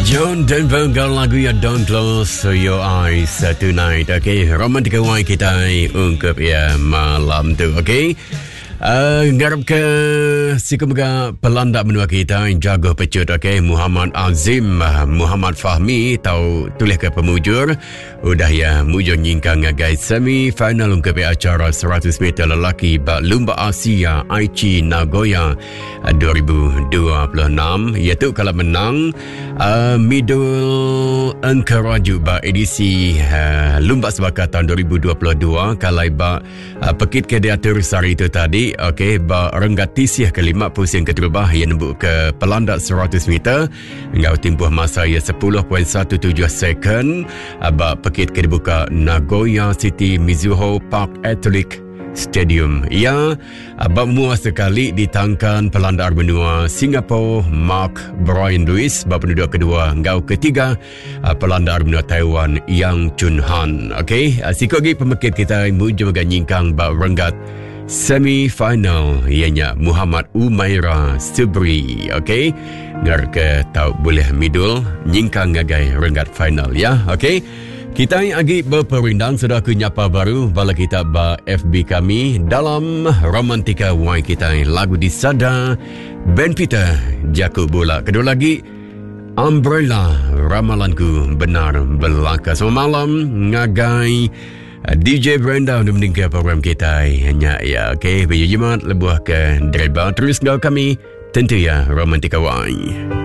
John Denver enggau lagu ya Don't Close Your Eyes Tonight. Okay, romantika wai kita ungkup ya malam tu. Okay. Uh, ngarap ke siku mega pelanda menua kita jago pecut okay Muhammad Azim Muhammad Fahmi tau tulis ke pemujur Udah iya mujur nyingkang ngagai semi final ungkup acara 100 meter lelaki ba Lumba Asia Aichi Nagoya 2026. Iya tu kalau menang uh, middle engkeraju ba edisi uh, Lumba Sebaka tahun 2022 kalai ba uh, pekit ke diatur sehari itu tadi okey ba renggat tisih kelima pusing keterubah iya nembuk ke pelanda 100 meter Enggau timpuh masa iya 10.17 second ba pekit ke dibuka Nagoya City Mizuho Park Athletic Stadium. Iya ba mua sekali ditangkan pelandar menua Singapore Mark Brian Lewis ba penduduk kedua enggau ketiga pelandar menua Taiwan Yang Chun Han. Okey, siku lagi pemekit kita mujur mega nyingkang ba renggat semi final iya nya Muhammad Umaira Subri. Okey. Ngar ke tau boleh midul nyingkang ngagai renggat final ya. Okey. Kita agi berperindang sudah aku nyapa baru bala kita ba FB kami dalam Romantika Y kita lagu disada Ben Peter Jaku Bola. Kedua lagi Umbrella Ramalanku Benar Belaka. Selamat malam ngagai eh, DJ Brenda untuk meninggal program kita. Hanya ya, okey, bila jimat lebuh ke driver terus ngau kami. Tentu ya, Romantika Y.